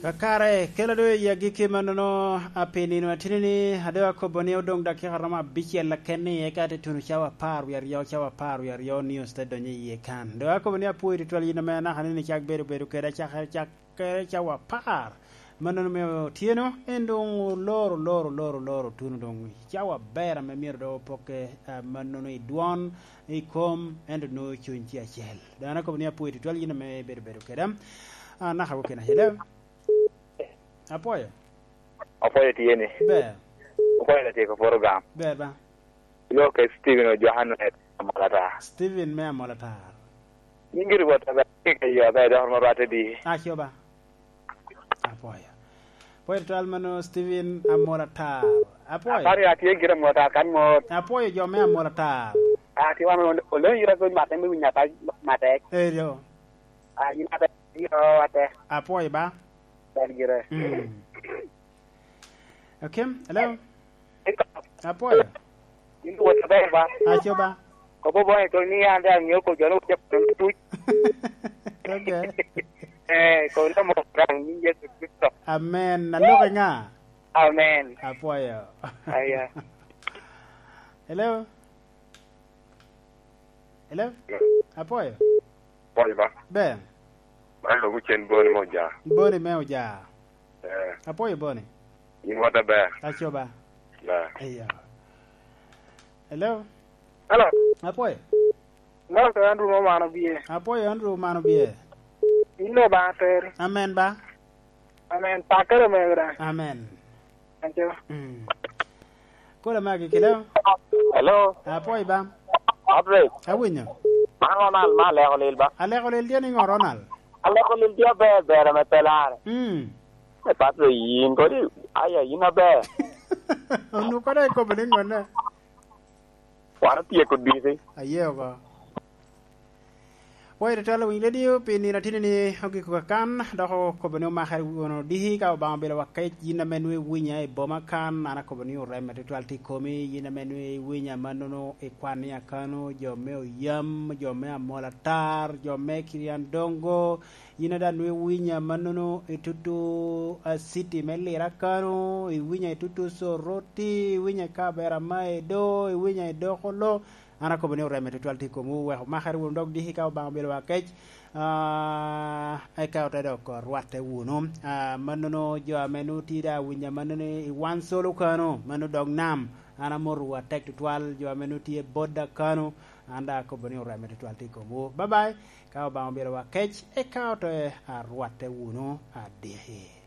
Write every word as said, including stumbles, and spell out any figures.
Kakare, kela doŋ i agikki mannono, a, pi nino atini-ni, a doŋ akobo ni odoŋ dakika romo abicel keken-ni, eka te tuno cawa apar wie aryo, cawa apar wie aryo, news te donyo iye kan. Doŋ akobo ni apwoyo tutwal yin ame anaka ni icak bedo, bedo keda cakere, cakere cawa apar. Mannono me otyeno, en doŋ oloro, oloro, oloro, oloro, tuno doŋ cawa aber ame myero doŋ opokke, a, mannono i dwon, i kom, ento nwoŋo cuny tye acel. Doŋ an akobo ni apwoyo tutwal yin ame ibedo, bedo keda. A, anaka wokene acel. Apwoyo. Apwoyo tye ni. Ber. Apwoyo na tye ka poro gam. Ber ba. Ilo ke Steven Ojohan me Amolatar. Steven me Amolatar. Yin giri wot aber, ke yo aber, dok romo rwate di. Aco ba. Apwoyo. Apwoyo tutwal mano Steven Amolatar. Apwoyo. Aparo ya tye gire Amolatar kan mot. Apwoyo jo me Amolatar. Ah, ti wan ol-, olonyo yita kony matek me winyo apac matek. Eyo. Ah, yin atek, yin o atek. Apwoyo ba. Ber gire. Mm. Akim, hello? Apwoyo. Yin wot aber ba? Aco ba. Kobo boŋ ito ni an de aŋeo ko jo no wot tuc. Okay. Eh, ko no mo daŋ ni Yesu Kristo. Amen. Alok i ŋa? Amen. Apwoyo. Aya. Hello? Hello? Apwoyo. Apwoyo ba? Ber. Man dok ocen Boni me Oja. Boni me Oja. Eh. Apwoyo Boni. Yin wot aber. Aco ba. Ber. Iya. Hello? Hello. Apwoyo. Mose Andrew me Omano Bye. Apwoyo Andrew Omano Bye. Yin Obaŋa teri. Amen ba. Amen. Pakere omego daŋ. Amen. Aco. Mm. Kola magi kilo. Hello. Apwoyo ba. Patrick. Awinyo. Man Ronald ma aleko lil ba? Aleko lil tye niŋo Ronald? Aleko lil tye aber, ber ame pe lare. Mm. E Patrick, yin kodi, aya, yin aber. Onwoŋo kodi ikobo niŋo ne? Wan otyeko diki. Aye oko. Apwoyo tutwal owiny redio pi nino atini ni ogiko kakan, dok okobo ni omakere wunu diki ka Obaŋa obedo wa kec. Yin ame nwoŋo iwinya i boma kan, an akobo ni oreme tutwal tye i komi. Yin ame nwoŋo iwinya mannono i Kwania kano, jo me Oyam, jo me Amolatar, jo me Kiriandongo, yin a daŋ nwoŋo iwinya mannono i tutu, a, city me Lira kano, iwinya i tutu Soroti, iwinya i Kaberamaido, iwinya i Dokolo. An akobo ni oreme tutwal tye i komwu, wek omakere wunu dok diki ka Obaŋa obedo wa kec, a, eka ote dok rwatte wunu. A, mannono jo ame nwoŋo tye daŋ awinya mannono i Wansolo kano, mano dog nam, an amotowu atek tutwal. Jo ame nwoŋo tye Boda kano, an daŋ akobo ni oreme tutwal tye i komwu. Bye bye. Ka Obaŋa obedo wa kec, eka ote arwatte wunu adiki.